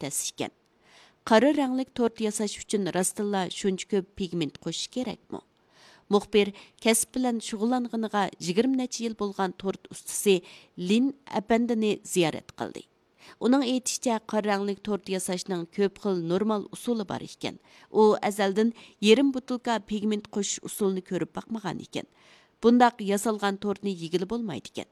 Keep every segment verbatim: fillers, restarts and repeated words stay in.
تەس ئىكەن. قارا رەڭلىك تورت ياساش ئۈچۈن راستتىنلا شۇنچە كۆپ پىگمېنت قوشۇش كېرەكمۇ؟ مۇخبىر كەسىپ بىلەن شۇغۇللانغىنىغا يىگىرمە نەچچە يىل بولغان تورت ئۇستىسى لىن ئەپەندىنى زىيارەت قىلدى. ئۇنىڭ ئېيتىشىچە، قارا رەڭلىك تورت ياساشنىڭ كۆپ خىل نورمال ئۇسۇلى بار ئىكەن. ئۇ ئەزەلدىن يېرىم بوتۇلكا پىگمېنت قوشۇش ئۇسۇلىنى كۆرۈپ باقمىغان ئىكەن. بۇنداق ياسالغان تورتنى يېگىلى بولمايدىكەن.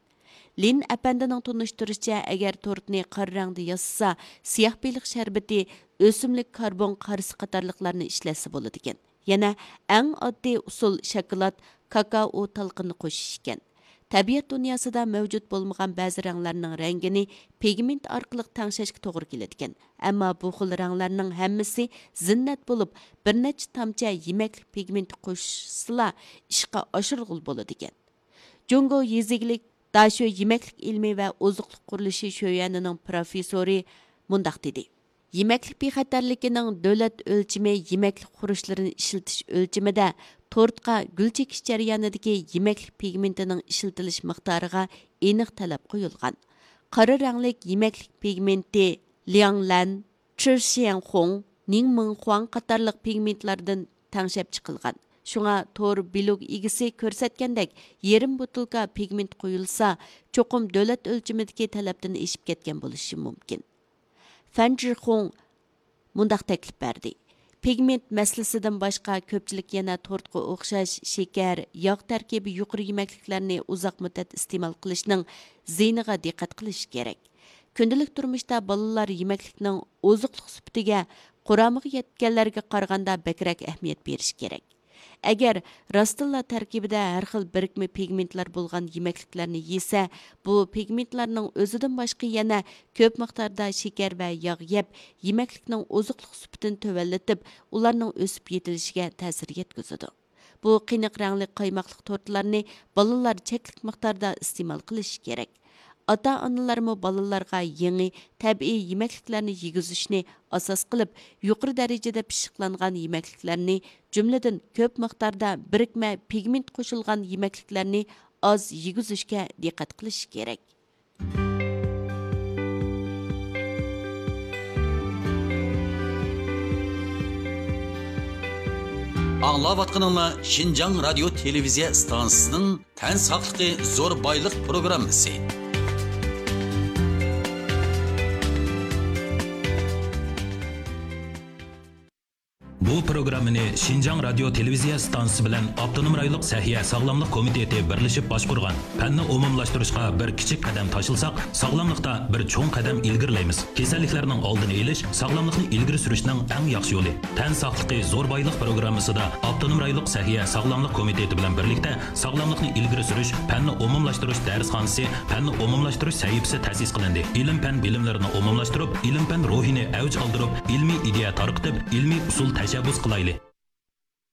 لىن ئەپەندىنىڭ تونۇشتۇرۇشىچە، ئەگەر تورتنى قارا رەڭدە ياسىسا، سىياھ بېلىق شەربىتى، ئۆسۈملۈك كاربون قارىسى قاتارلىقلارنى ئىشلەتسە بولىدىكەن. يەنە ئەڭ ئاددىي ئۇسۇل شاكىلات، كاكائو تالقىنى قوشۇش ئىكەن. تەبىئەت دۇنياسىدا مەۋجۇت بولمىغان بەزى رەڭلەرنىڭ رەڭگىنى پىگمېنت ئارقىلىق تەڭشەشكە توغرا كېلىدىكەن. ئەمما بۇ خىل رەڭلەرنىڭ ھەممىسى زىننەت بولۇپ، بىر نەچچە تامچە يېمەكلىك پىگمېنتى قوشسىلا ئىشقا ئاشۇرغىلى بولىدىكەن. جۇڭگو يېزا ئىگىلىك داشۆ يېمەكلىك ئىلمى ۋە ئوزۇقلۇق قۇرۇلۇشى شۆيۈەنىنىڭ پروفېسسورى مۇنداق دېدى: يېمەكلىك بىخەتەرلىكىنىڭ دۆلەت ئۆلچىمى يېمەكلىك خۇرۇچلىرىنى ئىشلىتىش ئۆلچىمىدە تورتقا گۈل چېكىش جەريانىدىكى يېمەكلىك پىگمېنتىنىڭ ئىشلىتىلىش مىقدارىغا ئېنىق تەلەپ قويۇلغان. قارا رەڭلىك يېمەكلىك پىگمېنتى لياڭلەن، چىشيەنخۇڭ، نىڭمىڭخۇاڭ قاتارلىق پىگمېنتلاردىن تەڭشەپ چىقىلغان. شۇڭا تور بىلوگ ئىگىسى كۆرسەتكەندەك، يېرىم بوتۇلكا پىگمېنت قويۇلسا، چوقۇم دۆلەت ئۆلچىمىدىكى تەلەپتىن ئېشىپ كەتكەن بولۇشى مۇمكىن. فەن جىخۇڭ مۇنداق تەكلىپ بەردى: پىگمېنت مەسىلىسىدىن باشقا، كۆپچىلىك يەنە تورتقا ئوخشاش شېكەر، ياغ تەركىبى يۇقىرى يېمەكلىكلەرنى ئۇزاق مۇددەت ئىستېمال قىلىشنىڭ زىيىنىغا دىققەت قىلىشى كېرەك. كۈندىلىك تۇرمۇشتا بالىلار يېمەكلىكنىڭ ئوزۇقلۇق سۈپىتىگە، قۇرامىغا يەتكەنلەرگە قارىغاندا بەكرەك ئەھمىيەت بېرىشى كېرەك. ئەگەر راستتىنلا تەركىبىدە ھەر خىل بىرىكمە پىگمېنتلار بولغان يېمەكلىكلەرنى يېسە، بۇ پىگمېنتلارنىڭ ئۆزىدىن باشقا يەنە كۆپ مىقداردا شېكەر ۋە ياغ يەپ، يېمەكلىكنىڭ ئوزۇقلۇق سۈپىتىنى تۆۋەنلىتىپ، ئۇلارنىڭ ئۆسۈپ يېتىلىشىگە تەسىر يەتكۈزىدۇ. بۇ قېنىق رەڭلىك قايماقلىق تورتلارنى بالىلار چەكلىك مىقداردا ئىستېمال قىلىشى كېرەك. ئاتا-ئانىلارمۇ بالىلارغا يېڭى، تەبىئىي يېمەكلىكلەرنى يېگۈزۈشنى ئاساس قىلىپ، يۇقىرى دەرىجىدە پىششىقلانغان يېمەكلىكلەرنى، جۈملىدىن كۆپ مىقداردا بىرىكمە پىگمېنت قوشۇلغان يېمەكلىكلەرنى ئاز يېگۈزۈشكە دىققەت قىلىشى كېرەك. ئاڭلاۋاتقىنىڭلار شىنجاڭ رادىيو تېلېۋىزىيە ئىستانسىسىنىڭ تەن ساقلىقى زور بايلىق پروگراممىسى. بۇ پروگراممىنى شىنجاڭ رادىيو تېلېۋىزىيە ئىستانسىسى بىلەن ئاپتونوم رايونلۇق سەھىيە ساغلاملىق كومىتېتى بىرلىشىپ باشقۇرغان. پەننى ئومۇملاشتۇرۇشقا بىر كىچىك قەدەم تاشلىساق، ساغلاملىقتا بىر چوڭ قەدەم ئىلگىرىلەيمىز. كېسەللىكلەرنىڭ ئالدىنى ئېلىش، ساغلاملىقنى ئىلگىرى سۈرۈشنىڭ ئەڭ ياخشى يولى. تەن ساقلىقى زور بايلىق پروگراممىسىدا ئاپتونوم رايونلۇق سەھىيە ساغلاملىق كومىتېتى بىلەن بىرلىكتە ساغلاملىقنى ئىلگىرى سۈرۈش، پەننى ئومۇملاشتۇرۇش دەرسخانىسى، پەننى ئومۇملاشتۇرۇش سەھىپىسى تەسىس قىلىندى. ئىلىم-پەن بىلىملىرىنى ئومۇملاشتۇرۇپ، ئىلىم-پەن روھىنى ئەۋج ئالدۇرۇپ، ئىلمىي ئىدىيە تارقىتىپ، ئىلمىي ئۇسۇل تەشەببۇس قىلايلى.